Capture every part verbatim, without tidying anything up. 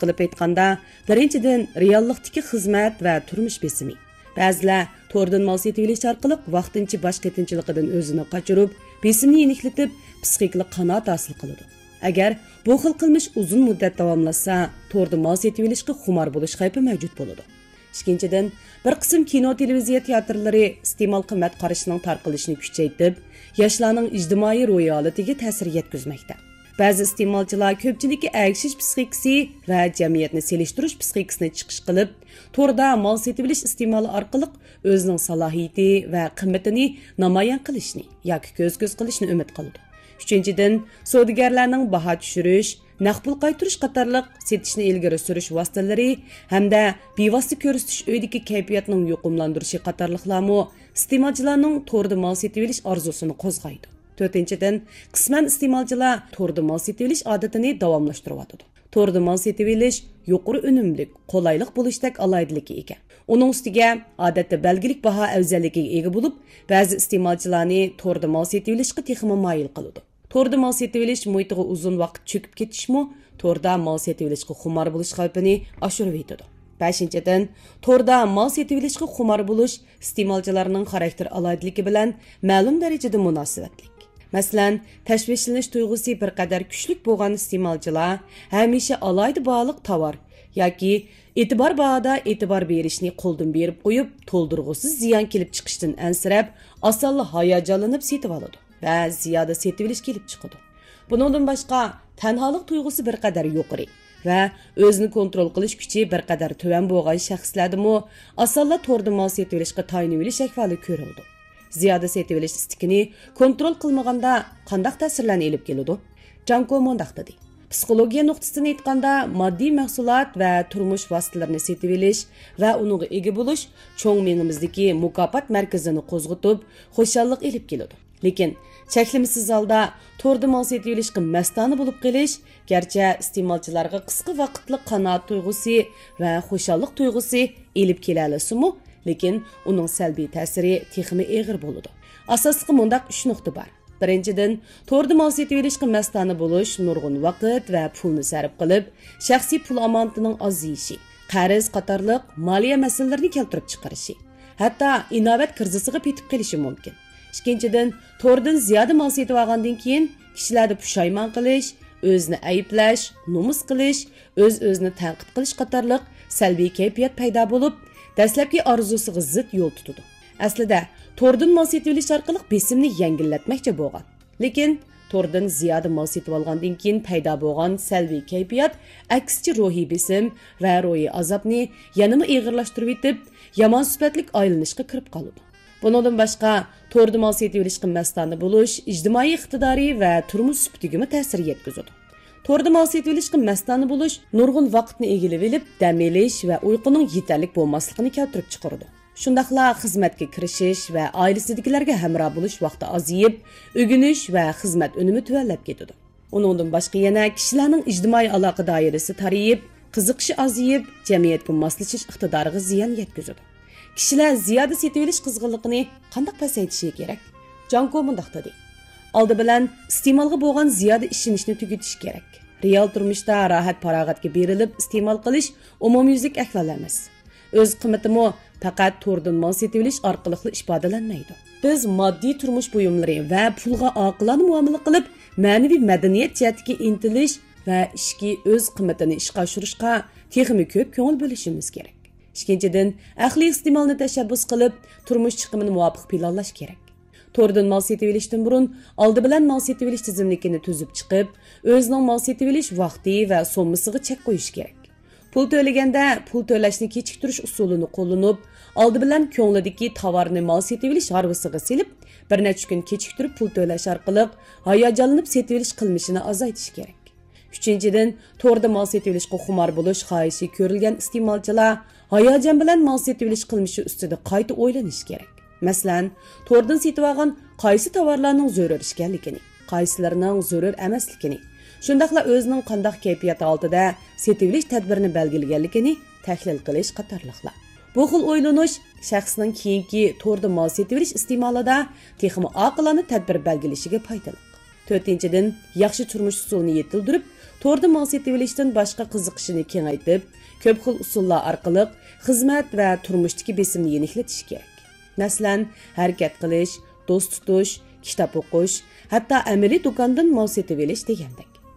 قىلىپ ئېيتقاندا، بىرىنچىدىن، رېئاللىقتىكى خىزمەت ۋە تۇرمۇش بېسىمى. بەزىلەر توردىن مال سېتىۋېلىش ئارقىلىق ۋاقتىنچە باش قېتىمچىلىقىدىن ئۆزىنى قاچۇرۇپ، بېسىمنى يېنىكلىتىپ، پىسخىكىلىق قانائەت ھاسىل قىلىدۇ. ئەگەر بۇ خىل قىلمىش ئۇزۇن مۇددەت داۋاملاشسا، توردا مال سېتىۋېلىشقا خۇمار بولۇش خەۋپى مەۋجۇت بولىدۇ. ئىككىنچىدىن، بىر قىسىم كىنو، تېلېۋىزىيە تىياتىرلىرى ئىستېمال قىممەت قارىشىنىڭ تارقىلىشىنى كۈچەيتىپ، ياشلارنىڭ ئىجتىمائىي روھىي ھالىتىگە تەسىر يەتكۈزمەكتە. بەزى ئىستېمالچىلار كۆپچىلىككە ئەگىشىش پىسخىكىسى ۋە جەمئىيەتنى سېلىشتۇرۇش پىسخىكىسىنى چىقىش قىلىپ، توردا مال سېتىۋېلىش ئىستېمالى ئارقىلىق ئۆزىنىڭ سالاھىيىتى ۋە قىممىتىنى نامايان قىلىشنى ياكى كۆز-كۆز قىلىشنى ئۈمىد قىلىدۇ. ئۈچىنچىدىن، سودىگەرلەرنىڭ باھا چۈشۈرۈش، نەق پۇل قايتۇرۇش قاتارلىق سېتىشنى ئىلگىرى سۈرۈش ۋاسىتىلىرى ھەمدە بىۋاسىتە كۆرسىتىش ئۆيىدىكى كەيپىياتنىڭ يۇقۇملاندۇرۇشى قاتارلىقلارمۇ ئىستېمالچىلارنىڭ توردا مال سېتىۋېلىش ئارزۇسىنى قوزغايدۇ. تۆتىنچىدىن، قىسمەن ئىستېمالچىلار توردا مال سېتىۋېلىش ئادىتىنى داۋاملاشتۇرۇۋاتىدۇ. توردا مال سېتىۋېلىش يۇقىرى ئۈنۈملۈك، قولايلىق بولۇشتەك ئالاھىدىلىككە ئىگە. ئۇنىڭ ئۈستىگە، ئادەتتە بەلگىلىك باھا ئەۋزەللىكىگە ئىگە بولۇپ، بەزى ئىستېمالچىلارنى توردا مال سېتىۋېلىشقا تېخىمۇ مايىل قىلىدۇ. توردا مال سېتىۋېلىش مۇھىتىغا ئۇزۇن ۋاقىت چۆكۈپ كېتىشمۇ توردا مال سېتىۋېلىشقا خۇمار بولۇش خەۋپىنى ئاشۇرۇۋېتىدۇ. بەشىنچىدىن، توردا مال سېتىۋېلىشقا خۇمار بولۇش ئىستېمالچىلارنىڭ خاراكتېر ئالاھىدىلىكى بىلەن مەلۇم دەرىجىدە مۇناسىۋەتلىك. مەسىلەن، تەشۋىشلىنىش تۇيغۇسى بىر قەدەر كۈچلۈك بولغان ئىستېمالچىلار ھەمىشە ئالاھىدە باھالىق تاۋار ياكى ئېتىبار باھادا ئېتىبار بېرىشنى قولدىن بېرىپ قويۇپ، تولدۇرغۇسىز زىيان كېلىپ چىقىشتىن ئەنسىرەپ، ئاسانلا ھاياجانلىنىپ سېتىۋالىدۇ ۋە زىيادە سېتىۋېلىش كېلىپ چىقىدۇ. بۇنىڭدىن باشقا، تەنھالىق تۇيغۇسى بىر قەدەر يۇقىرى ۋە ئۆزىنى كونترول قىلىش كۈچى بىر قەدەر تۆۋەن بولغان شەخسلەردىمۇ ئاسانلا توردا مال سېتىۋېلىشقا تايىنىۋېلىش ئەھۋالى كۆرۈلىدۇ. زىيادە سېتىۋېلىش ئىستىكىنى كونترول قىلمىغاندا قانداق تەسىرلەرنى ئېلىپ كېلىدۇ؟ جاڭكو مۇنداق دېدى، پسىخولوگىيە نۇقتىسىدىن ئېيتقاندا، ماددىي مەھسۇلات ۋە تۇرمۇش ۋاسىتىلىرىنى سېتىۋېلىش ۋە ئۇنىڭغا ئىگە بولۇش چوڭ مېڭىمىزدىكى مۇكاپات مەركىزىنى قوزغىتىپ، خۇشاللىق ئېلىپ كېلىدۇ. لېكىن چەكلىمىسىز ھالدا توردا مال سېتىۋېلىشقا مەستانە بولۇپ قېلىش، گەرچە ئىستېمالچىلارغا قىسقا ۋاقىتلىق قانائەت تۇيغۇسى ۋە خۇشاللىق تۇيغۇسى ئېلىپ كېلەلىسىمۇ، لېكىن ئۇنىڭ سەلبىي تەسىرى تېخىمۇ ئېغىر بولىدۇ. ئاساسلىقى مۇنداق ئۈچ نۇقتا بار. بىرىنچىدىن، توردا مال سېتىۋېلىشقا مەستانە بولۇش نۇرغۇن ۋاقىت ۋە پۇلنى سەرپ قىلىپ، شەخسىي پۇل ئامانىتىنىڭ ئازىيىشى، قەرز قاتارلىق مالىيە مەسىلىلىرىنى كەلتۈرۈپ چىقىرىشى، ھەتتا ئىناۋەت كىرىزىسىغا پېتىپ قېلىشى مۇمكىن. ئىككىنچىدىن، توردىن زىيادە مال سېتىۋالغاندىن كېيىن، كىشىلەردە پۇشايمان قىلىش، ئۆزىنى ئەيىبلەش، نومۇس قىلىش، ئۆز-ئۆزىنى تەنقىد قىلىش قاتارلىق سەلبىي كەيپىيات پەيدا بولۇپ، دەسلەپكى ئارزۇسىغا زىت يول تۇتىدۇ. ئەسلىدە، توردىن مال سېتىۋېلىش ئارقىلىق بېسىمنى يەڭگىللەتمەكچى بولغان. لېكىن، توردىن زىيادە مال سېتىۋالغاندىن كېيىن پەيدا بولغان سەلبىي كەيپىيات، ئەكسىچە روھىي بېسىم ۋە روھىي ئازابنى يەنىمۇ ئېغىرلاشتۇرۇۋېتىپ، يامان سۈپەتلىك ئايلىنىشقا كىرىپ قالىدۇ. بۇنىڭدىن باشقا، توردا مال سېتىۋېلىشقا مەستانە بولۇش ئىجتىمائىي ئىقتىدارى ۋە تۇرمۇش سۈپىتىگىمۇ تەسىر يەتكۈزىدۇ. توردا مال سېتىۋېلىشقا مەستانە بولۇش نۇرغۇن ۋاقىتنى ئىگىلىۋېلىپ، دەم ئېلىش ۋە ئۇيقۇنىڭ يېتەرلىك بولماسلىقىنى كەلتۈرۈپ چىقىرىدۇ. شۇنداقلا خىزمەتكە كىرىشىش ۋە ئائىلىسىدىكىلەرگە ھەمراھ بولۇش ۋاقتى ئازىيىپ، ئۆگىنىش ۋە خىزمەت ئۈنۈمى تۆۋەنلەپ كېتىدۇ. ئۇنىڭدىن باشقا يەنە كىشىلەرنىڭ ئىجتىمائىي ئالاقە دائىرىسى تارىيىپ، قىزىقىشى ئازىيىپ، جەمئىيەتكە ماسلىشىش ئىقتىدارىغا زىيان يەتكۈزىدۇ. كىشىلەر زىيادە سېتىۋېلىش قىزغىنلىقىنى قانداق پەسەيتىشى كېرەك؟ جاڭكو مۇنداق دېدى، ئالدى بىلەن ئىستېمالغا بولغان زىيادە ئىشىنىشنى تۈگىتىش كېرەك. رېئال تۇرمۇشتا راھەت-پاراغەتكە بېرىلىپ ئىستېمال قىلىش ئومۇميۈزلۈك ئەھۋال ئەمەس. ئۆز قىممىتىمۇ پەقەت توردىن مال سېتىۋېلىش ئارقىلىقلا ئىپادىلەنمەيدۇ. بىز ماددىي تۇرمۇش بۇيۇملىرى ۋە پۇلغا ئاقىلانە مۇئامىلە قىلىپ، مەنىۋى مەدەنىيەت جەھەتتىكى ئىنتىلىش ۋە ئىچكى ئۆز قىممىتىنى ئىشقا ئاشۇرۇشقا تېخىمۇ كۆپ كۆڭۈل بۆلۈشىمىز كېرەك. ئىككىنچىدىن، ئەقلىي ئىستېمالنى تەشەببۇس قىلىپ، تۇرمۇش چىقىمىنى مۇۋاپىق پىلانلاش كېرەك. توردىن مال سېتىۋېلىشتىن بۇرۇن، ئالدى بىلەن مال سېتىۋېلىش تىزىملىكىنى تۈزۈپ چىقىپ، ئۆزىنىڭ مال سېتىۋېلىش ۋاقتى ۋە سوممىسىغا چەك قويۇش كېرەك. پۇل تۆلىگەندە، پۇل تۆلەشنى كېچىكتۈرۈش ئۇسۇلىنى قوللىنىپ، ئالدى بىلەن كۆڭلىدىكى تاۋارنى مال سېتىۋېلىش ھارۋىسىغا سېلىپ، بىر نەچچە كۈن كېچىكتۈرۈپ پۇل تۆلەش ئارقىلىق ھاياجانلىنىپ سېتىۋېلىش قىلمىشىنى ئازايتىش كېرەك. ئۈچىنچىدىن، توردا مال سېتىۋېلىشقا خۇمار بولۇش خاھىشى كۆرۈلگەن ئىستېمالچىلار ھاياجان بىلەن مال سېتىۋېلىش قىلمىشى ئۈستىدە قايتا ئويلىنىشى كېرەك. مەسىلەن، توردىن سېتىۋالغان قايسى تاۋارلارنىڭ زۆرۈر ئىكەنلىكىنى، قايسىلىرىنىڭ زۆرۈر ئەمەسلىكىنى، شۇنداقلا ئۆزىنىڭ قانداق كەيپىيات ھالىتىدە سېتىۋېلىش تەدبىرىنى بەلگىلىگەنلىكىنى تەھلىل قىلىش قاتارلىقلار. بۇ خىل ئويلىنىش شەخسنىڭ كېيىنكى توردا مال سېتىۋېلىش ئىستېمالىدا تېخىمۇ ئاقىلانە تەدبىر بەلگىلىشىگە پايدىلىق. تۆتىنچىدىن، ياخشى تۇرمۇش ئۇسۇلىنى يېتىلدۈرۈپ، توردا مال سېتىۋېلىشتىن باشقا قىزىقىشىنى كېڭەيتىپ، كۆپ خىل ئۇسۇللار ئارقىلىق خىزمەت ۋە تۇرمۇشتىكى بېسىمنى يېنىكلىتىشى كېرەك. مەسىلەن، ھەرىكەت قىلىش، دوست تۇتۇش، كىتاب ئوقۇش، ھەتتا ئەمەلىي دۇكاندىن مال سېتىۋېلىش دېگەندەك.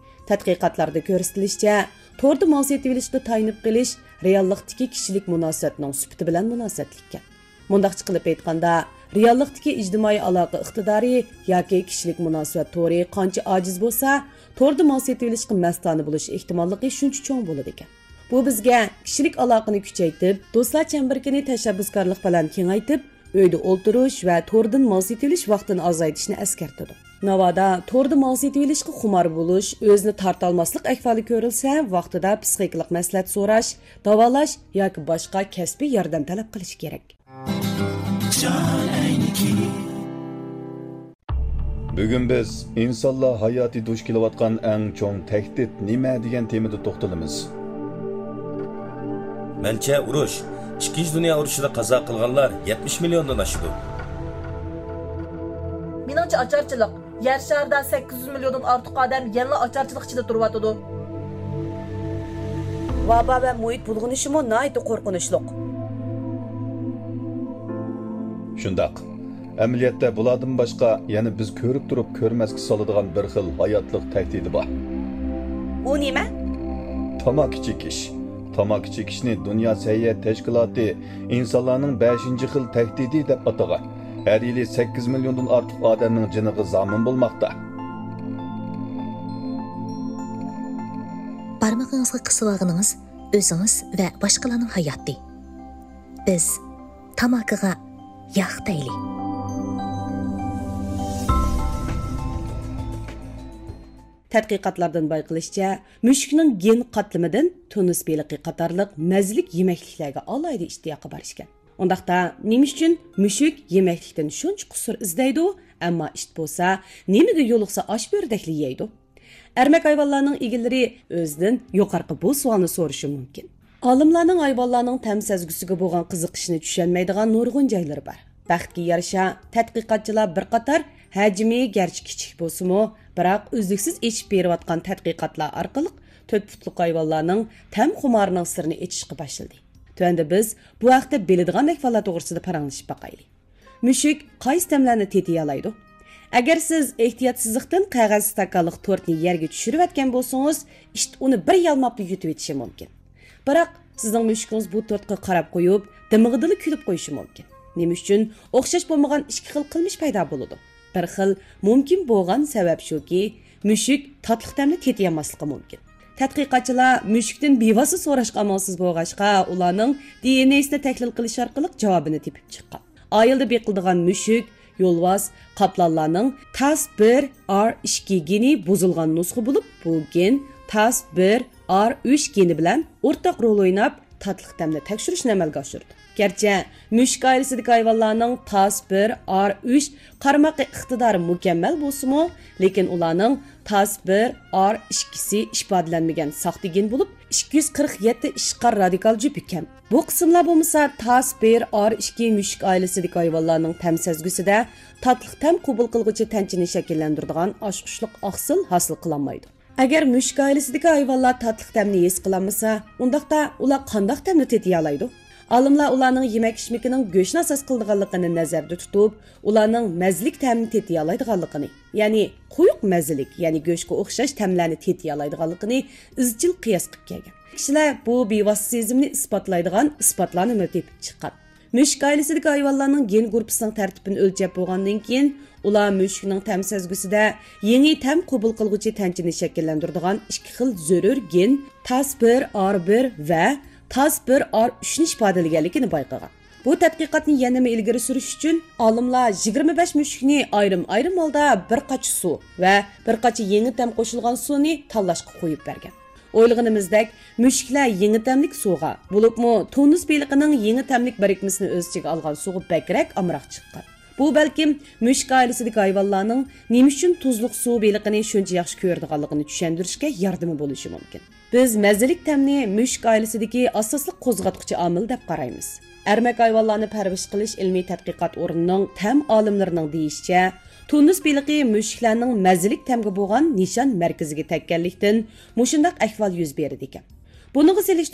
تەتقىقاتلاردا كۆرسىتىلىشىچە، توردا مال سېتىۋېلىشقا تايىنىپ قېلىش رېئاللىقتىكى كىشىلىك مۇناسىۋەتنىڭ سۈپىتى بىلەن مۇناسىۋەتلىككەن. مۇنداقچە قىلىپ ئېيتقاندا، رېئاللىقتىكى ئىجتىمائىي ئالاقە ئىقتىدارى ياكى كىشىلىك مۇناسىۋەت تورى قانچە ئاجىز بولسا، توردا مال سېتىۋېلىشقا مەستانە بولۇش ئېھتىماللىقى شۇنچە چوڭ بولىدىكەن. بۇ بىزگە كىشىلىك ئالاقىنى كۈچەيتىپ، دوستلار چەمبىرىكىنى تەشەببۇسكارلىق بىلەن كېڭەيتىپ، ئۆيدە ئولتۇرۇش ۋە توردىن مال سېتىۋېلىش ۋاقتىنى ئازايتىشنى ئەسكەرتىدۇ. ناۋادا توردا مال سېتىۋېلىشقا خۇمار بولۇش، ئۆزىنى تارتالماسلىق ئەھۋالى كۆرۈلسە، ۋاقتىدا پسىخىكىلىق مەسلىھەت سوراش، داۋالاش ياكى باشقا كەسپىي ياردەم تەلەپ قىلىش كېرەك. بۈگۈن بىز ئىنسانلار ھاياتى دۇچ كېلىۋاتقان ئەڭ چوڭ تەھدىت نېمە دېگەن تېمىدا توختىلىمىز. مەنچە، ئۇرۇش، ئىككىنچى دۇنيا ئۇرۇشىدا قازا قىلغانلار يەتمىش مىليوندىن ئاشىدۇ. مېنىڭچە، ئاچارچىلىق. يەر شارىدا سەككىز يۈز مىليوندىن ئارتۇق ئادەم يەنىلا ئاچارچىلىق ئىچىدە تۇرۇۋاتىدۇ. ۋابا ۋە مۇھىت بۇلغىنىشىمۇ ناھايىتى قورقۇنچلۇق. شۇنداق. ئەمەلىيەتتە بۇلاردىن باشقا يەنە بىز كۆرۈپ تۇرۇپ كۆرمەسكە سالىدىغان بىر خىل ھاياتلىق تەھدىتى بار. ئۇ نېمە؟ تاماكا چېكىش. تاماكا چېكىشنى دۇنيا سەھىيە تەشكىلاتى ئىنسانلارنىڭ بەشىنچى خىل تەھدىتى دەپ ئاتىغان. ھەر يىلى سەككىز مىليوندىن ئارتۇق ئادەمنىڭ جېنىغا زامىن بولماقتا. بارمىقىڭىزغا قىسىۋالغىنىڭىز ئۆزىڭىز ۋە باشقىلارنىڭ ھاياتى. بىز تاماكىغا ياق دەيلى. تەتقىقاتلاردىن بايقىلىشىچە، مۈشۈكنىڭ گېن قاتلىمىدىن تۇنۇس بېلىقى قاتارلىق مەززىلىك يېمەكلىكلەرگە ئالاھىدە ئىشتىياقى بار ئىكەن. ئۇنداقتا، نېمە ئۈچۈن مۈشۈك يېمەكلىكتىن شۇنچە قۇسۇر ئىزدەيدۇ، ئەمما ئىت بولسا، نېمىگە يولۇقسا ئاش بۆرىدەكلا يەيدۇ؟ ئەرمەك ھايۋانلارنىڭ ئىگىلىرى ئۆزىدىن يۇقىرىقى بۇ سوئالنى سورىشى مۇمكىن. ئالىملارنىڭ ھايۋانلارنىڭ تەم سەزگۈسىگە بولغان قىزىقىشىنى چۈشەنمەيدىغان نۇرغۇن جايلىرى بار. بەختكە يارىشا، تەتقىقاتچىلار بىر قاتار ھەجمى گەرچە كىچىك بولسىمۇ، بىراق ئۈزلۈكسىز ئېچىپ بېرىۋاتقان تەتقىقاتلار ئارقىلىق تۆت پۇتلۇق ھايۋانلارنىڭ تەم خۇمارىنىڭ سىرىنى ئېچىشقا باشلىدى. تۆۋەندە بىز بۇ ھەقتە بىلىدىغان ئەھۋاللار توغرىسىدا پاراڭلىشىپ باقايلى. مۈشۈك قايسى تەملەرنى تېتىيالايدۇ؟ ئەگەر سىز ئېھتىياتسىزلىقتىن قەغەز ئىستاكانلىق تورتنى يەرگە چۈشۈرۈۋەتكەن بولسىڭىز، ئىت ئۇنى بىر يالماپلا يۇتۇۋېتىشى مۇمكىن. بىراق، سىزنىڭ مۈشۈكىڭىز بۇ تورتقا قاراپ قويۇپ، دىمىقىدىلا كۈلۈپ قويۇشى مۇمكىن. نېمە ئۈچۈن؟ ئوخشاش بولمىغان ئىككى خىل قىلمىش پەيدا بولىدۇ. بىر خىل مۇمكىن بولغان سەۋەب شۇكى، مۈشۈك تاتلىق تەمنى تېتىيالماسلىقى مۇمكىن. تەتقىقاتچىلار مۈشۈكتىن بىۋاسىتە سوراشقا ئامالسىز بولغاچقا، ئۇلارنىڭ دى ئېن ئېسىنى تەھلىل قىلىش ئارقىلىق جاۋابىنى تېپىپ چىققان. ئائىلىدە بېقىلىدىغان مۈشۈك، يولۋاس، قاپلانلارنىڭ تاس بىر ئار ئىككى گېنى بۇزۇلغان نۇسخا بولۇپ، بۇ گېن تاس بىر ئار ئۈچ گېنى بىلەن ئورتاق رول ئويناپ، تاتلىق تەمنى تەكشۈرۈشنى ئەمەلگە ئاشۇرىدۇ. گەرچە مۈشۈك ئائىلىسىدىكى ھايۋانلارنىڭ تاس بىر ئار ئۈچ قارىماق ئىقتىدارى مۇكەممەل بولسىمۇ، لېكىن ئۇلارنىڭ تاس بىر ئار ئىككىسى ئىپادىلەنمىگەن ساختا گېن بولۇپ، ئىككى يۈز قىرىق يەتتە ئىشقار رادىكال جۈپى كەم. بۇ قىسىملار بولمىسا، تاس بىر ئار ئىككى مۈشۈك ئائىلىسىدىكى ھايۋانلارنىڭ تەم سەزگۈسىدە تاتلىق تەم قوبۇل قىلغۇچى تەنچىنى شەكىللەندۈرىدىغان ئاشقۇچلۇق ئاقسىل ھاسىل قىلالمايدۇ. ئەگەر مۈشۈك ئائىلىسىدىكى ھايۋانلار تاتلىق تەمنى ھېس قىلالمىسا، ئۇنداقتا ئۇلار قانداق تەمنى تېتىيالايدۇ؟ ئالىملار ئۇلارنىڭ يېمەك-ئىچمىكىنىڭ گۆشنى ئاساس قىلىدىغانلىقىنى نەزەردە تۇتۇپ، ئۇلارنىڭ مەززىلىك تەمنى تېتىيالايدىغانلىقىنى، يەنى قويۇق مەززىلىك، يەنى گۆشكە ئوخشاش تەملەرنى تېتىيالايدىغانلىقىنى ئىزچىل قىياس قىلىپ كەلگەن. كىشىلەر بۇ بىۋاسىتە سېزىمنى ئىسپاتلايدىغان ئىسپاتلارنىمۇ تېپىپ چىققان. مۈشۈك ئائىلىسىدىكى ھايۋانلارنىڭ گېن گۇرۇپپىسىنىڭ تەرتىپىنى ئۆلچەپ بولغاندىن كېيىن، ئۇلار مۈشۈكنىڭ تەم سەزگۈسىدە يېڭى تەم قوبۇل قىلغۇچى تەنچىنى شەكىللەندۈرىدىغان ئىككى خىل زۆرۈر گېن، تاس بىر ئار بىر ۋە تاس بىر ئار ئۈچنى ئىپادىلىگەنلىكىنى بايقىغان. بۇ تەتقىقاتنى يەنىمۇ ئىلگىرى سۈرۈش ئۈچۈن، ئالىملار يىگىرمە بەش مۈشۈكنى ئايرىم-ئايرىم ھالدا بىر قاچا سۇ ۋە بىر قاچا يېڭى تەم قوشۇلغان سۇنى تاللاشقا قويۇپ بەرگەن. ئويلىغىنىمىزدەك، مۈشۈكلەر يېڭى تەملىك سۇغا، بولۇپمۇ تونۇس بېلىقىنىڭ يېڭى تەملىك بىرىكمىسىنى ئۆز ئىچىگە ئالغان سۇغا بەكرەك ئامراق چىققان. بۇ بەلكىم مۈشۈك ئائىلىسىدىكى ھايۋانلارنىڭ نېمە ئۈچۈن تۇزلۇق سۇ بېلىقىنى شۇنچە ياخشى كۆرىدىغانلىقىنى چۈشەندۈرۈشكە ياردىمى بولۇشى مۇمكىن. بىز مەززىلىك تەمنى مۈشۈك ئائىلىسىدىكى ئاساسلىق قوزغاتقۇچى ئامىل دەپ قارايمىز. ئەرمەك ھايۋانلارنى پەرۋىش قىلىش ئىلمىي تەتقىقات ئورنىنىڭ تەم ئالىملىرىنىڭ دېيىشىچە، تۇنۇس بېلىقى مۈشۈكلەرنىڭ مەززىلىك تەمگە بولغان نىشان مەركىزىگە تەگكەنلىكتىن، مۇشۇنداق ئەھۋال يۈز بېرىدىكەن. بۇنىڭغا سېلىش